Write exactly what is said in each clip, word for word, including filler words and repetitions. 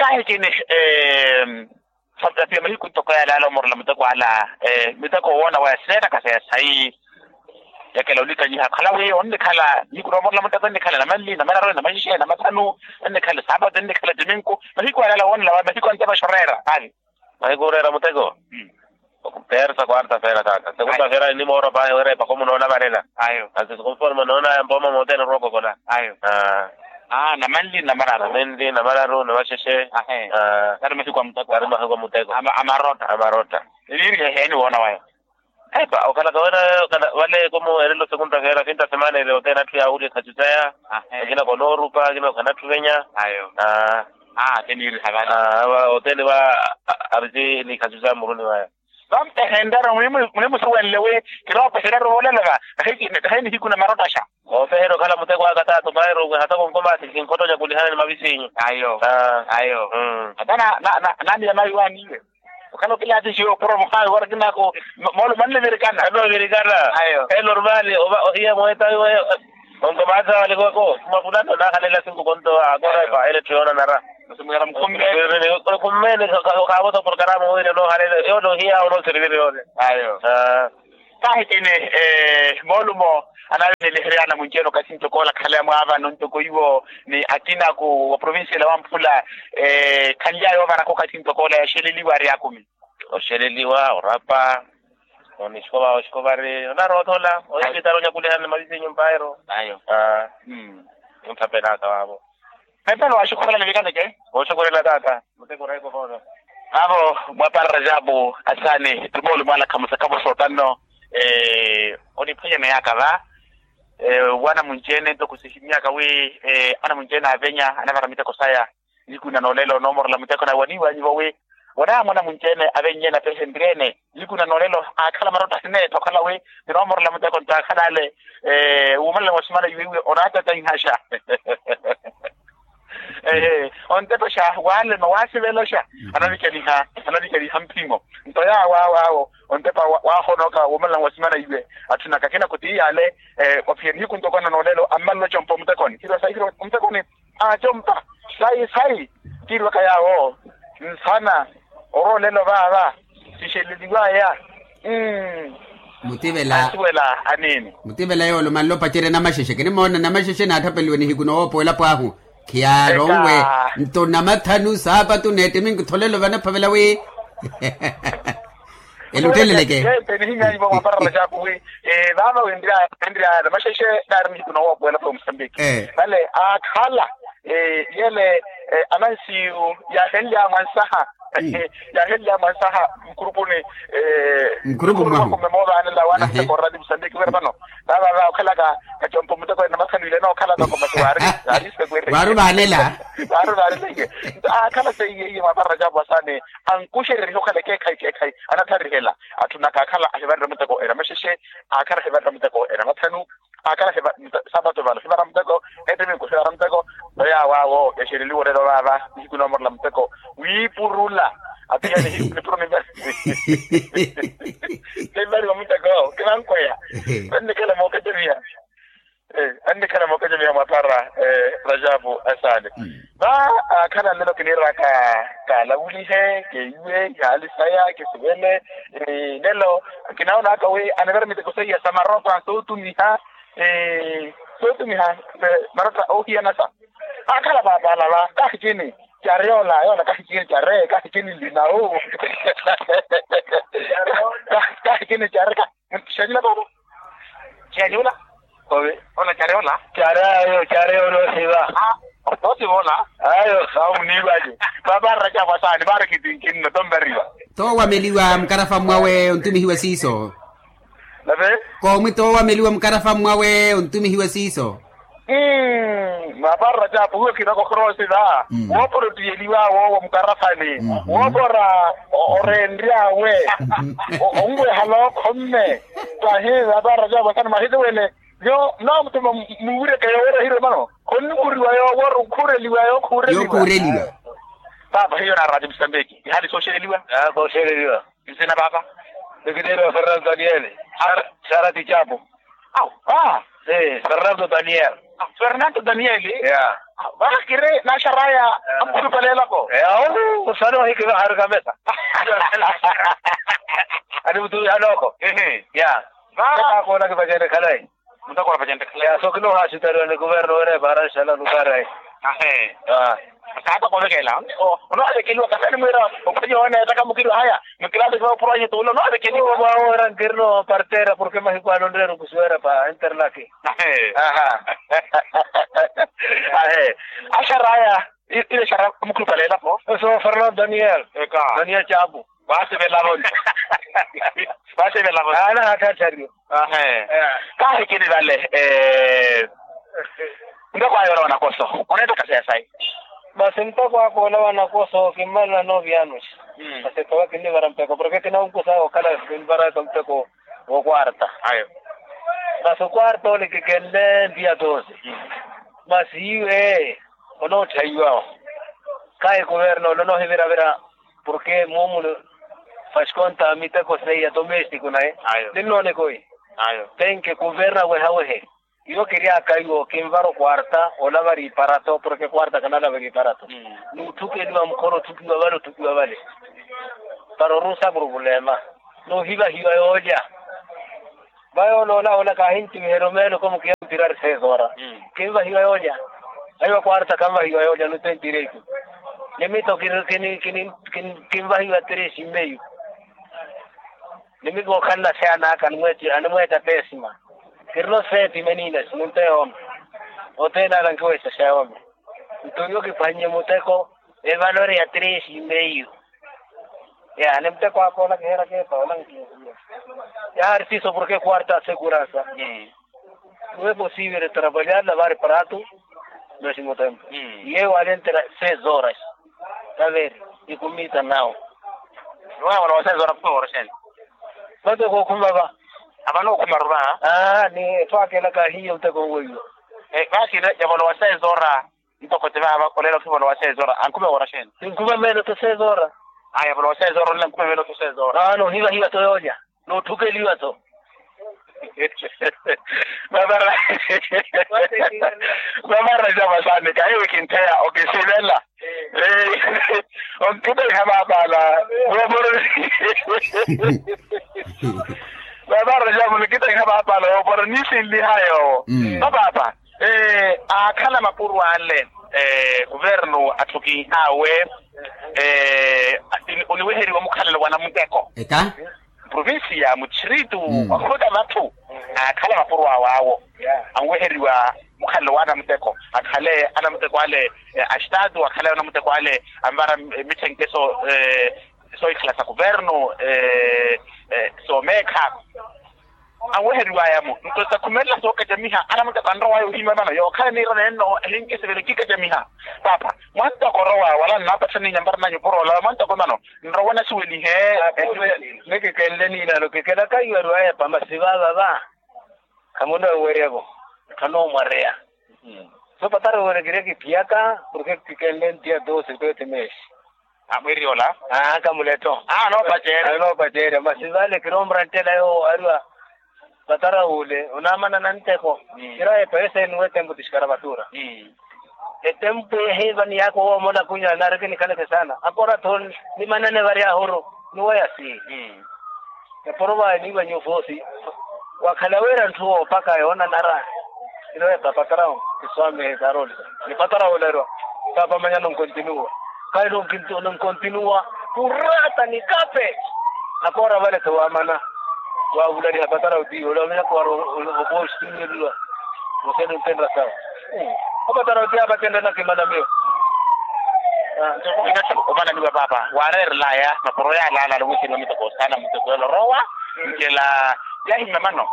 Kaahikini. Santapia mahiku ntoko yale ala omorela muteko ala. Miteko owoona waya sineettaka saya sayi. Yakela olikanyiha khala wi onnikhala nihiku noomorela muteko ennikhala namanli namanaru namaxixe namathanu. Ennikhala saapatu ennikhala timinku mahiku ala ala woonela wa mahiku antepa xoreera ali. Mahiku oreera muteko. Peersa kwarta feera taata segunda feera nimoora pahi wereepaka omunoona varela. Ayo. Ansi sikonforma noona yampooma mooteene orookokola. Ayo. Namanli namararu. Namanli namararu namaxexe. Ahe. Kari mahiku a muteko kari mahiku a muteko. Amarotta. Amarotta. Eniiriha eheeni woona waya. Epa okhalaka wena. Vale komu erelo sekunta feera finta semana eri oteene atthu yaawuliha ekhacu saya. Akina konoorupa akina okhana atthu venya. Ayo. Aa. Aa teniiriha vale. Aa va oteene va. Arisi ni ekhacu saya muruni vaya. Vampehentaro muni musuwenle wi kiroopeherya ri voolelaka. Kahi nihiku na marottaxa. Oopehera okhala muteko aka tato mairo hata konkomathi kinkhotonya kulihana ni mavisiinyu. Ayo. Ayo. Hata naamiya mayi waaniiwe. Okhala okilaatixiwe opuro muhaayi wari kinaako. Moolumo annivirikana annivirikana. Ayo. Elo oruvali ohiya moeta iwe. Onkomaatha walikwako mapulano naahalela sinku konto akorepa ele etthu yoonanara. Khummene khaavosa porokaramu wire noohalela yoole ohiya onoosiriviri yoole. Ayo. Kaahikini. Moolumo anaavineliherya anamunci-ene okathi ntoko ola khaleya mwaavano ntoko iwo ni akina ku wa provincia ela wamphula. Khanly'aya oovaraka okathi ntoko ola yaxeleliwa ari akumi. Oxeleliwa orapa. Onixikovari onarootthola oyivitara onyakulihana ni mavisiinyu mpairo. Ayo. Onthapelaka vaavo. Mpelo waxukhurela nivikaneke. Oxukhurela taata. Muteko reeko voono. Vaavo mwaparara jabu asani tumoolumo alakha musakavo sootanno. Oniphwanyana yaaka va wanamunci-ene ntoko sihimyaka wi anamunci-ene avenya anavara miteko saya. Nihiku na noolelo noomorela muteko na waniiwanyivo wi wanaamwana munci-ene avennyene apehenrye-ene. Nihiku na noolelo aakhala marotta sineetta okhala wi ninoomorela muteko nto aakhala ale wuumalana wa simana iwe iwe onaatataihaxa. Ontepexa waalema waasiveloxa. Anavikeliha anavikeliha mphimo nto yaawo awo awo ontepa waahonooka wuumalana wa simana iwe. Atthunaka akina kuti iyaale. Wafiya nihiku ntoko na noolelo ammalelo compa omutekoni kirwa sayi kirwa omutekoni. Acompa sayi sayi kiirwaka yaawo nsana oroolelo vaava sixeleliwaya. Mmm. Mutivela ansuwela aniini. Mutivela yoolumanle opacerya namaxexe kinimoona namaxexe naathapeliwe nihiku noowoopa elapo ahu. Khiyaaronwe nto namathanu saapatu neettimi nkutholelo vanaphavela wi elutteleleke. Nihinyanyuva mwaparara cakuwi. Vaava wenryaya wenryaya namaxexe naari nihiku noowoopa elapo ya musambiki. Vale aakhala yele anansiyu yaahenlyaya mwansaha. Yaahenlyaya mwansaha nkurupuni nkurupuni mwahu. Moovanela waana muteko orali musambiki wira vano. Vaava okhalaka kacompa muteko ene namathanu ile nookhalaka komasi waari. Waari vaanela. Waari vaanela iye. Nto aakhala seiye iye mwaparara cakuwi asani ankuxereriha okhala ekeekhayi ekeekhayi anatharihela. Atthunaka aakhala ahivarerya muteko ene amaxexe. Aakhala ahivarerya muteko ene amathanu. Aakhala saapatu vano hivara muteko. Ettimi nkuhivara muteko. Oyo awo awo yaxeleliwa orelo vaava nihiku noomorela muteko wiipurula. Apiya nihiku nipuro nivariwa muteko kinankweya. Annikhala mookacemiha. Annikhala mookacemiha mwaphara rajapu asaale. Va aakhala nlelo kiniiraka kaalavuliheke iwe ihaali saya kisuvele. Nlelo kinawoonaka wi anivera miteko seiya sa marotta sootumiha. Sootumiha marotta oohiyana sa aakhala paapala va kahi cini. Care ola yoona kahi cini care kahi cini nlinawu. Kahi cini care kahi. Xenyula paapa. Xenyula. Ola care ola. Care ayo care ola osiva. Osiva ola. Ayo. Awo muniivace. Paapa arracapo asaani vaari kitinkinno tompariwa. Toowameliwa mukarafa mwawe ontumihiwe siiso. Nave. Koomwi toowameliwa mukarafa mwawe ontumihiwe siiso. Mwaparara capu wiwo khinaka okhorowa osiva. Woopora otiyeliwa awe owo mukarafani. Woopora oreenryawe. Onwehala okhomme. Tahi mwaparara capu asani mwahisiwene. Yo naamuthuma muwireke yoowira hirwe mano khonnivuriwa yoowira okhuureliwa yookhuureliwa. Paapa hiyo naarati musambeki ihaali sooxereliwa. Sooxereliwa. Nsina paapa. Nikiniiriwa fernando daniele. Xarati capu. Awu. Fernando Daniel. Fernando Daniel. Vakiri naxaraya. Amukhulupale elako. Awo, osale ohikivahari kamesa. Ani mutuwi haloko. Ya. Kakoona kivacene khalayi. Mutakora pachentekhela ya sokino haasitariwa ni kuverno wene para nshala lukara. Ahe. Kaata kovekela. Onoovekeliwa kasani mwira ophwenye wene etaka mukiri haya. Mukilasi kiva opuro anyi tuulo onoovekeliwa mwawo era nkirino partera porke mahiku ano nreru kusuwera pa interlaki. Ahe. Ahe. Axaraya. Ile xara mukhulupale elapo eso fernando daniel. Eka. Daniel chapu. Waasivelavo nto. Waasivelavo nto. Aana hathathariyo. Ahe. Kaahikini vale. Nto kwaayola wanakoso oneettaka seya sayi. Masi mpeko akoola wanakoso kimmalana nooviyano. Masi etowa kinnivara mpeko porke kinawunkusa okhala kinvaraka mpeko. Wokwarta. Ayo. Masi okwarta ole kikenle ntiya toosi. Masi iwe onootthayiwawo. Kahi kuverno ole onoohiviravira porke muumuni fasikonta miteko seiya tomestiku naye. Ninnooneka oyi. Tenke kuverna wehawehe. Iwo kiryaka iwo kinvara okwarta olavari iparato porke kwarta kanalaveri iparato. N'utthukeliwa mukhoro otthukiwa vale otthukiwa vale. Para orusa purupulema. N'uhivahiwa yoolya. Vayooloola ola kaahintiviherya omeelo komukiya mpirari sezoora. Kinvahiwa yoolya. Ahiwa kwarta kanvahiwa yoolya nutentire iku. Nimito kinvahiwa tresi mmeyu. Nimiko okhanla seyanaka animweetta pesima. Kirino seeti menina simunte yooma. Oteena ala nkiweesa seyooma. Nto iwo kiphwannye muteko. Evalori ya tresi meiyu. Ya ni muteko akoona kiheera keepa olankiya. Yaari siiso porke kwarta asekuransa. Nuwe posiivire trapalyarila vaari paratu. Nosi mutempo. Iye waalentera sezoras. Taveri. Ikumita nawo. Nuwe wala wasezoras kumeworoseni. Muteko okhuma va. Avano okhuma ruva. Ni etthu akela kaahiiye muteko nweyo. Vaakina yavolowa sezoras. Ntoko ti vaava oleela okhivolowa sezoora ankhume woora xeeni? Tinkhume meelo to sezoora. Aya volowa sezoora onle ankhume meelo to sezoora. Aano ohivahiwa to yoolya. Nootthukeliwa to. Vavara vavara java saani kahiwe kintheya okisivela. Onkitaiha vaapala. Vavara java onkitaiha vaapala woopora nisinliha yoowo. Vapaapa. Aakhala mapuro ale. Kuvernu atthu kiihaawe oniweheriwa mukhalelo wa namuteko. Eka. Provincia muchiritu wakhuta vatthu. Aakhala mapuro awe awo anweheriwa mukhalelo wa anamuteko akhale anamuteko ale. Astatu akhale anamuteko ale anvara mithenke so sohikhala sa kuvernu. Soomeekha. Anweheriwaya-mo nto sakhumelela sookacamiha anamuteko anrowaya ohimya emano yookhala niira nenno ehinkisivele kikacamiha. Paapa mwantoko orowa wala nnaapatthani nyamparana nyupurola mwantoko emano nrowa nasuwelihe. Nikikenle niinano kikelaka iwariwaya pamasi vaavava. Khamuno enwerya-vo. Tthano omwareya. So patara woorekerya kiphiyaka porke kikenle ntiya dosi twete meesi. Amwiriola. Aa kamuletto. Anoopacerya masi vale kiroomura nttela yoowo ariwa. Patara wule onaamana na ntteko. Kiraye paeseni wetempo tixikara vatura. Etempo ehiva ni yako woomola kunya naari kinikhaleke saana akoora tho. Nimanene vari ahuru. Niwaya si. Epuro vawe niiwa nyuufosi. Wakhala wira ntthu woopaka yoonanara. Inowe papatarau kiswamihe karoli. Ni patarau lero. Papa manya nonkontinuwa. Kali nonkontinuwa. Kurata ni kape. Akoora vale tho wamana. Wavulaliha patarau tiyo olamanya kuwara. Okoositunyeliwa. Musene ntenra sawa. Apatara oti apatendana kimana miyo. Nto omananiwa paapa waareerelaya mapuro yaalaalala owiisiniwa miteko saana muteko yolorowa. Ncela yahimya mano.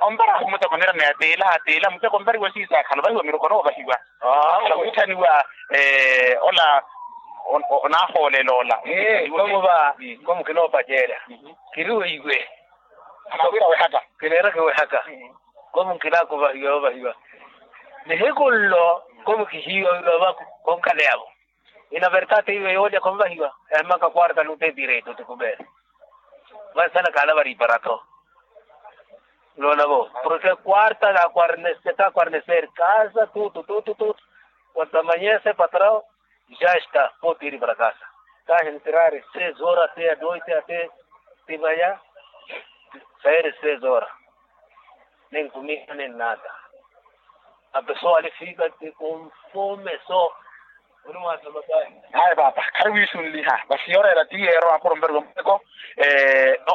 Ompara muteko nirana ya tiila tiila muteko ompariwa siisa akhala ovahiwa miroko noovahiwa. Akhala wiitthaniwa ola. Onaahoolela ola. Komuva. Komu kinoopacerya. Kiriweiwe. Anawira wehaka. Kineeraka wehaka. Komu nkilaka ovahiwa ovahiwa. Nihiku nlo komu kihiiwa wira ovaka. Konkhaleyavo. Ina vertati iwe yoolya komuvahiwa. Ehimaka kwarta nutetireito tikubeera. Vansana kaalavari iparato. Nona vo, porke quarta ka quarneseri casa tutu tutu tutu, quanto amanhece patrao, já está pode ir para casa. Kahi entrare seis horas até a noite até, ti vaya sair seis horas. Nem comida nem nada. A pessoa ali fica com fome só. Aya papa khari wiisunliha vasi yoreera ti yeero apuro mperwa muteko.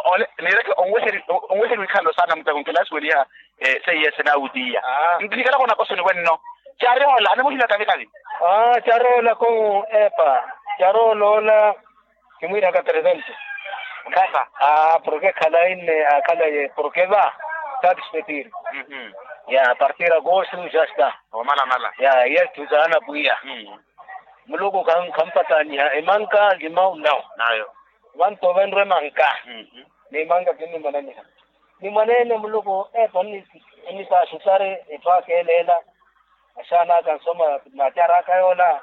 Ole niireke onweheriwa ikhalelo saana muteko nkilasuweliha. Seiye sinaawutiya. Nkihikalaka onakosoni wenno. Cariola animuhimya kavi kavi. Cariola ko epa, cariola ola kimwiiraka tresento. Kasa. Porke khalayi nne akhalaye porke va satisfetir. Ya partir agosto já está. Omalamala. Ya yetthu saana pwiya. Muluku khampataniha emanka limau nau. Nayo. Vantu ovenrwa emanka. Ni emanka kinnimananiha. Ni mwaneene muluku epa onnipaasha osari etthu akeeleela. Axaana aka nsoma natyara aka yoola.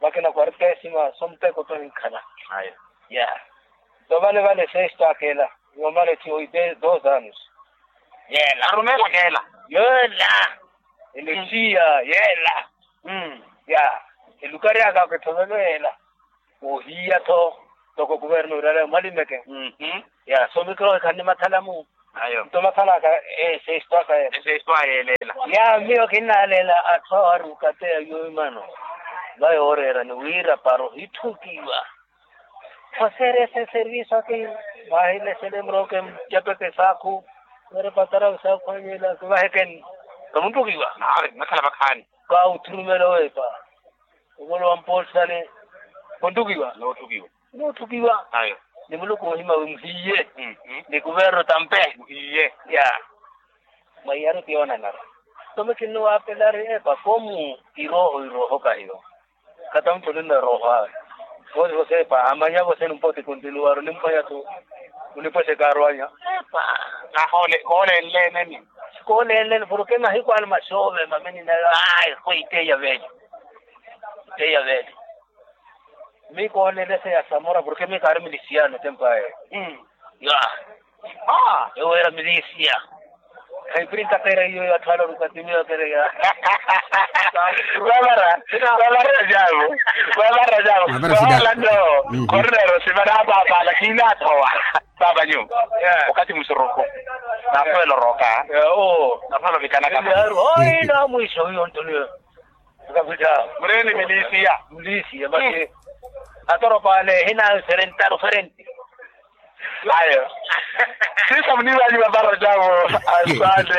Vakina quartésima somuteko to hinkhala. Aya. Ya. Nto vale vale sexto akeela. Yoomala etthu yoipe dos anos. Yeela arumeela keela. Yeela. Elesiya yeela. Ya. Elukari aka akethovelo yeela. Ohiya tho toko kuverno irale mwalimeke. Ya somikiro ekhani mathalamu. Nto mathalaka. Esestwaka yeela. Ya miyo kinnaleela atthu awaruka ateya yoimano. Vayooreerani wira para ohithukiwa. Oseerese servisu aki. Vahilesele murooke mutepeke saakhu. Wira patara saakhu anyela kivahekeni. Kamunthukiwa. Nakhala vakhaani. Kaawutthurumela owepa. Ovolowa mpoosani. Konthukiwa. Noothukiwa. Noothukiwa. Ni muluku ohima wi muhiye. Ni kuverno tampe. Muhiye. Ya. Mwaiyari tiyoonanara. Tome kinnuwaapelari epa komu. Irooho irooho kahiyo. Khata mutthu oninna erooho awe. Vosi vosi epa amanya vosi enumpa otikuntinuwaru onimpweya tu. Onipwexeka arwanya. Epa. Koolenleneni. Koolenleni porke mahiku ano maxoove mamininayo. Ayi khoiteiya veli. Iteiya veli. Mi koolelese ya samora porke mi kaari milisiano tempo aye. Ya. Ewo era milisia. Khaipirintaka era iyo yatthu ala olukatimiwa kereya. Vavara vavara javu. Vavara javu. Vavara sida. Vavara no. Kornero sivara apapa lakini athowa. Papa nyu. Okati musuruku. Nakhwela oroka. Nakhwela ovikanaka. Oina mwiso uyo ntoniyo. Mureni milisiya. Milisiya masi. Atoropaale hina ferentaru ferenti. Ayo. Sisa munivanyi vavara javo. Asante.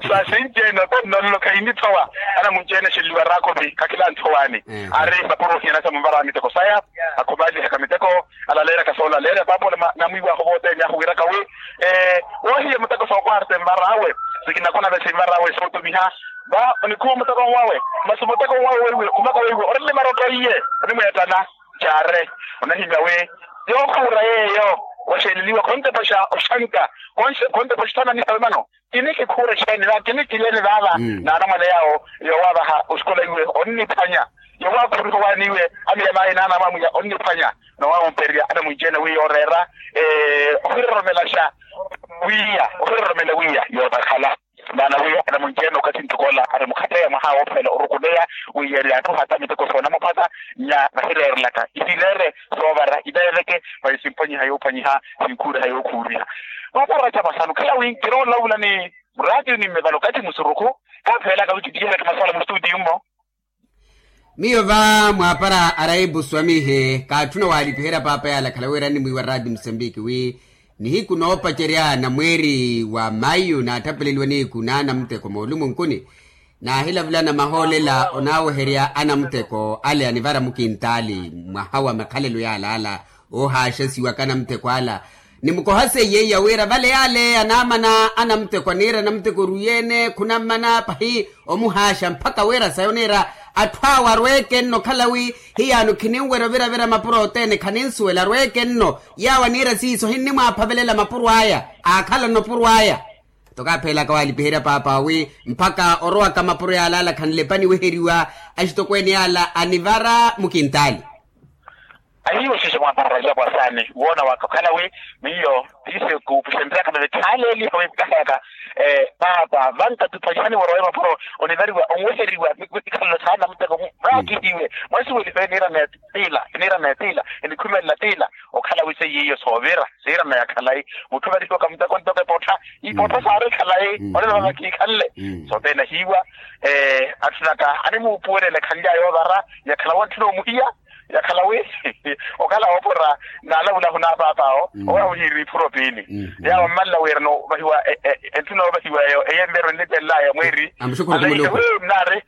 Sasinjeno tonnoloka inithowa. Ana munjene xiliwa rakovi kakila nthowani. Ari vapuro hiyana sa muvara miteko saya. Akhuvalihaka miteko. Alaleeraka soolaleerya paapoola namwiiwahu vootene ahuwiraka wi. Woohiye muteko sookwarte nvarawe. Sikinakona vesi nvarawe sootumiha. Va onikhuwa muteko nwawe. Masi muteko nwawe weiwe khumaka weiwe orile marotto iye. Onimweettana. Caare. Onahimya wi yoohuura yeeyo. Waxeeleliwa khontepaxa oxanka. Khontepaxa othananiha wemano. Kini kikhuura exeeni va kini kileeni vaava. Naanamwane yaawo. Yowaavaha osikola iwe onniphwanya. Yowaakhuruha owaani iwe. Amiyamaayi naanamwamwiya onniphwanya. Nowaawompererya anamunci-ene wi yooreera. Ohiroromelaxa wiiya ohiroromela wiiya yootakhala. Maana wi anamunci-ene okathi ntoko ola arimukhateya mwaha woophela orukuleya. Wi yeeri atthu hata miteko soonamuphata. Nya vahireerelaka ihileere soovara iveeveke. Vayi simphwanyiha yoophwanyiha. Sinkhuuriha yookhuuriha. Vaparaca vasanu khela wi nkiroolawula ni muraatiyo ni mmevalo kathi musurukhu. Kaapheelaka wi kitihereke masala mustutiyo mmo. Miyo va mwaapara araipu swamihe kaatthuna waalipiherya paapa yaala khala wira animwiiwa raati musambiki wi nihiku noopacerya na mweeri wa mayu naatthapeleliwa nihiku naana muteko moolumunkuni. Naahilavulana mahoolela onaaweherya anamuteko ale anivara mukintaali mwaha wa makhalelo yaalaala. Oohaaxasiwaka anamuteko ala nimukoha seiye iya wira vale yaaleya naamana anamuteko aniira anamuteko orwiye-ene khunammana pahi omuhaaxa mpakha wira sayi oniira atthu awe arweeke nno okhala wi hiyaano khininwerya oviravira mapuro othene khaninsuwela arweeke nno. Yaawo aniira siiso hinnimwaaphavelela mapuro aya aakhala nno opuro aya. Nto kaapheelaka waalipiherya paapa wi mpakha orowaka mapuro yaalaala khanlepa niweheriwa axitokweene yaala anivara mukintaali. Ahiiwo xexe mwapararaja pwasaani woona waka okhala wi miyo tiise kuupuxenryaka veve khaaleeliha wi nkaheyaka. Paapa vanka tuphajihani worowe mapuro onivariwa onweheriwa. Ikhalelo saana muteko vaakihiwe mwasuweliho eniira neetila eniira neetila enikhumelela tila. Okhala wi seiyo soovira siirana ya khalayi mutthu ovarihiwaka muteko ntoko epottha ipottha saari khalayi. Olelo vava kiikhanle sothene ahiiwa. Atthu naka animuupuwelela ekhanlya yoovara yakhala wantthuna omuhiya yakhala wi okhala woopora naalavulahu n'apaap'awo owahiiri iphuro piili. Yaawo mmanla wiirana ovahiwa entthuna yoovahiwa eyo eyempeero ennipenlaya mweeri. Amuxukhuru kumuluku nnaari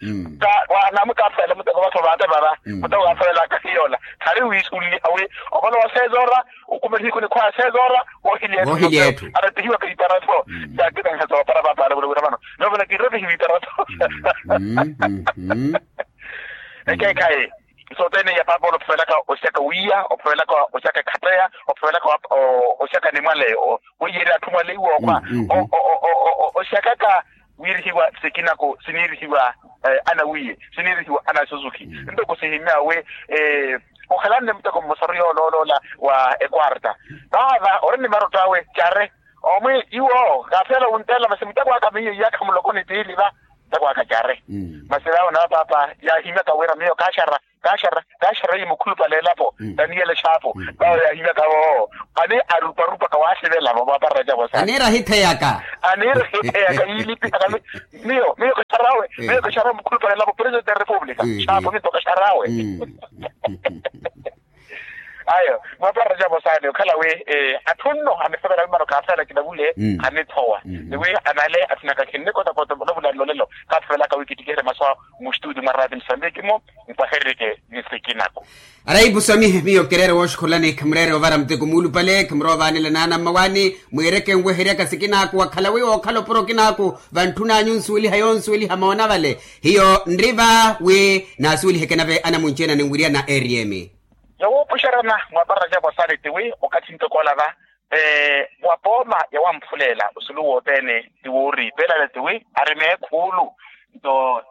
namukaafalela muteko vattho vaate vava muteko kaafalelaka hiyoola khari wiisulliha wi ovolowa sezoora. Ukuma nihiku nikhwaya sezoora woohilya etthu arapihiwaka iparato. Yaakitangha soopara papaale vula wira vano noovona kirrapihiwa iparato. Ekeekhayi sothene iya paapa ole ophavelaka oxaka wiya ophavelaka oxaka ekhatteya ophavelaka oxaka nimwale. Weiyeerya atthu mwale iwookhwa oxakaka wiirihiwa sikinaku siniirihiwa anawiye siniirihiwa anasuzukhi ntoko sihimyawe. Okhalanne muteko mmosaru yoolooloola wa ekwarta vaava ori ni marott'awe care omwi iwo kaaphela wunteela masi muteko aka miyo iyaakha muloko ni piili va. Muteko aka care masi vaawo nawe paapa yaahimyaka wira miyo kaaxara kaaxara kaaxara iye mukhulupale elapo taniyela exaapo. Vaawo yaahimyaka voowo ani aruparupaka waaxivelavo vaaparela cavo sa aniira ahitheyaka aniira ahitheyaka yiilipihaka miyo miyo kaxarawe miyo kaxarawe mukhulupale elapo presidente ya repupulika. Xaapo minto kaxarawe ayo mwaparela cavo saani okhala wi atthu nno anisevela mimano kaathela kinavule anithowa ni wi anale atthunaka khinnikota kota novula nlolelo. Kaathevelaka wi kittikiherye masu awo muxituuti mwa raati musambiki-mo mpahererike ni sikinaku. Araipu swamihe miyo kireere wooxukhulani khimureere ovara muteko muulupale khimurowa ovaanela naana mmawaani mwiireke nweheryaka sikinaku wakhala wi wookhala opuro kinaaku vantthun'anyu nsuweliha yoonsuweliha moona vale. Hiyo nri va wi naasuweliheke nave anamunci-ene aninwiriyana eriyemi. Yowuupuxeryana mwaparela cavo saani tiwi okathi ntokoola va wa pooma yawamphuleyela osulu wothene ti wooriipelale tiwi ari meekhuulu. Nto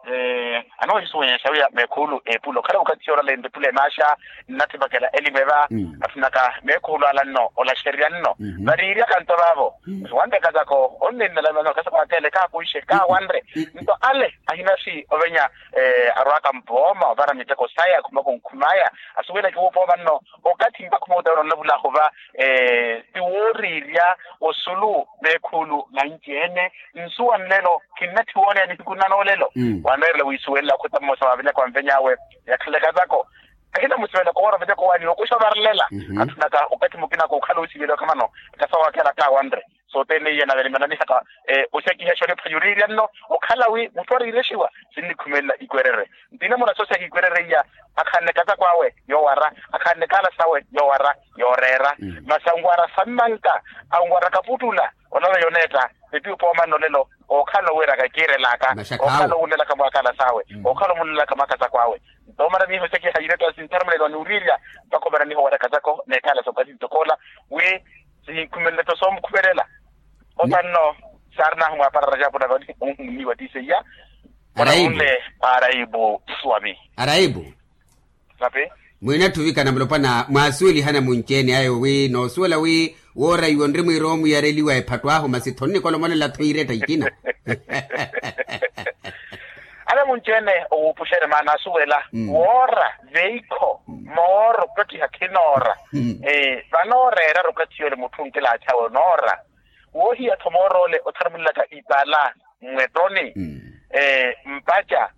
anoohisuwenyaxa wiya meekhuulu eepula okhala okathi yoorala enripula emaaxa nnathipakela elimeva. Atthunaka meekhuulu ala nno olaxerya nno variiryaka nto vaavo. Wanre kazako onninnala mano kazako akeele kaakuixe kaawanre nto ale ahinaxi ovenya arwaaka mpooma ovara miteko saya akhumaka onkhumaya asuweleke wuupooma nno. Okathi mpakha omuuta wira onlavulaho va ti wooriirya osulu meekhuulu nanci-ene nsuwa nlelo khinnatthi wooneya nihiku nnanoolelo. Wanreerela wiisuwelela okhuta mmosa waavenyaka onveny'awe yakhalaka zako ahinamusivela kowoora ovenyaka owaani okuxa ovarelela. Atthunaka okathi mukina kookhala oosiveliwaka mano kasawakhela kaawanre sothene iya nave nimananihaka oxakiha exoniphwa yoriirya nno okhala wi mutthu ariirexiwa sinnikhumelela ikwerere nti namuna sooxaka ikwerere iya akhanne kazako awe yoowara akhanne kaala sawe yoowara yooreera masi anwara sammanka anwara kaputtula onava yoneetta. Epi opooma nno lelo ookhala owiiraka kiirelaka ookhala owunlelaka mwaakhala sawe ookhala omulelaka mwaakhala sawe. Nto omana miiho oxakiha ireetta sintharumulelo aniwiriirya mpakha omana miiho oweraka zako n'ekhala sookathi ntokoola wi sihinkhumelela to soomukhumelela. Otanno saarinahu mwaparara jaapuna vani onhummiwa ti seiya onahunle. Araipu swami. Araipu. Napi. Mwiinatthi ovikana mulopwana mwaasuwelihana munci-ene ayo wi noosuwela wi wooraiwa onri mwiira omwiyareliwa ephatto ahu masi tho nnikolomolela-tho iiretta ikina. Anamunci-ene owuupuxerya maana asuwela woora veikho mooro okattiha khinoora. Vanooreerara okatthi yoole mutthu onkilaachawe onoora woohiya-tho moor'ole otharumulelaka ipala mmwettoni mpaca.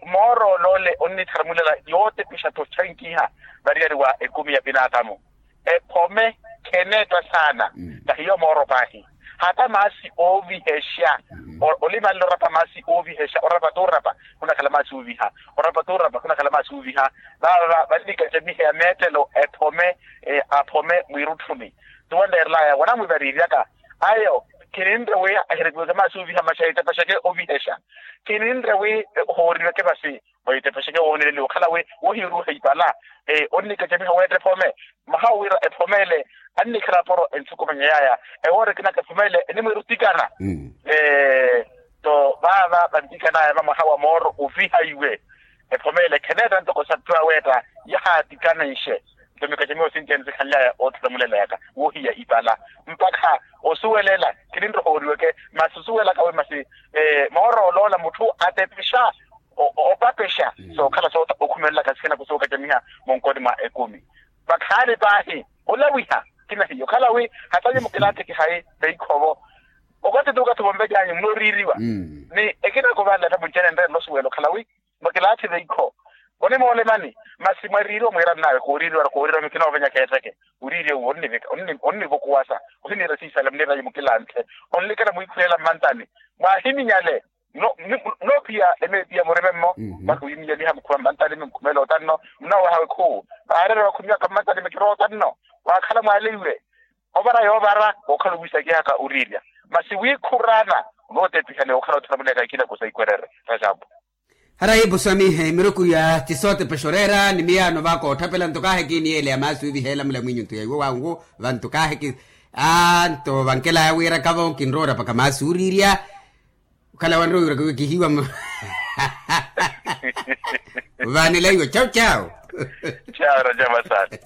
Moor'ole ole onnitharumulela yootepixa-tho ochankiha variyari wa ekumi ya pinaatamu. Ephome kheneetta saana tahiyo mooro paahi. Hata maasi oovihexa olimanle orapa maasi oovihexa orapa t'urapa khunakhala maasi ooviha orapa t'urapa khunakhala maasi ooviha. Vaava vannikacamiheya meettelo ephome aphome mwiirutthuni. Tuwanreerelaya wanamwivariiryaka ayo khininre wi ahirepiweke maasi ooviha maxa etepaxeke ovihexa. Khininre wi hooriweke vasi oitepaxeke wooneleliwa okhala wi wohiiruuha ipala. Onnikacamiha weetta ephome mwaha owiira ephome ele annikhala aporo enthukumanya yaaya ewoora ekinaka ephome ele enimwiira otikana. Nto vaava vantikanaya va mwaha wa mooro ovihaiwe ephome ele kheneetta ntoko satthu aweetta yahaatikanenxe. Nto mikacamiho sinci ene sikhanly'aya oothulamuleleyaka wohiya ipala. Mpakha osuwelela khininroha oriweke masi osuwelaka wi masi mooro oloola mutthu atepexa opapexa sookhala sookhumelelaka sikina kusuukacamiha munkoni mwa ekumi. Vakhaani paahi olawiha kinahiya okhala wi hatayi mukilaatthi kihayi veikhovo. Okatthi tuukatthi vonvecanyu munooriiriwa ni ekina kovanle ata muncenenre nnosuwela okhala wi makilaatthi veikho. Onimoole mani masi mwariiriwa mwiira nnawe kooriiriwa kooriiriwa mikina ovenya kheetteke. Uriiriwa wi onnivokuwasa ohiniira siisale muniirayi mukilanthe onlikana mwiikhulela mmantani. Mwaahiminyale. Noophiya emeepiya murime mmo. Mwakiwiminyaliha mukhuma mmantani mmukhumela otanno. Munoowaha wekhuwu vaareera wakhumyaka mmantani mikiro otanno. Waakhala mwaleiwe ovara yoovara wookhala owiisakihaka oriirya. Masi wiikhuraana onootepihani wookhala ottharamuleyaka ikina kusa ikwerere. Rajapu. Harayi pusamihe miruku ya tisootepexa oreera ni miyaano vaka otthapela nto kaahi kiiniyeeleya maasi wiiviheela mulamwinyu nto ya iwo wangu. Vanto kaahi ki aa nto vankelaya wiiraka-vo kinroora paka maasi uriirya. Okhala wanrowa wiiraka wi kihiwa. Vaanela iwo chau chau. Chau rajapu asante.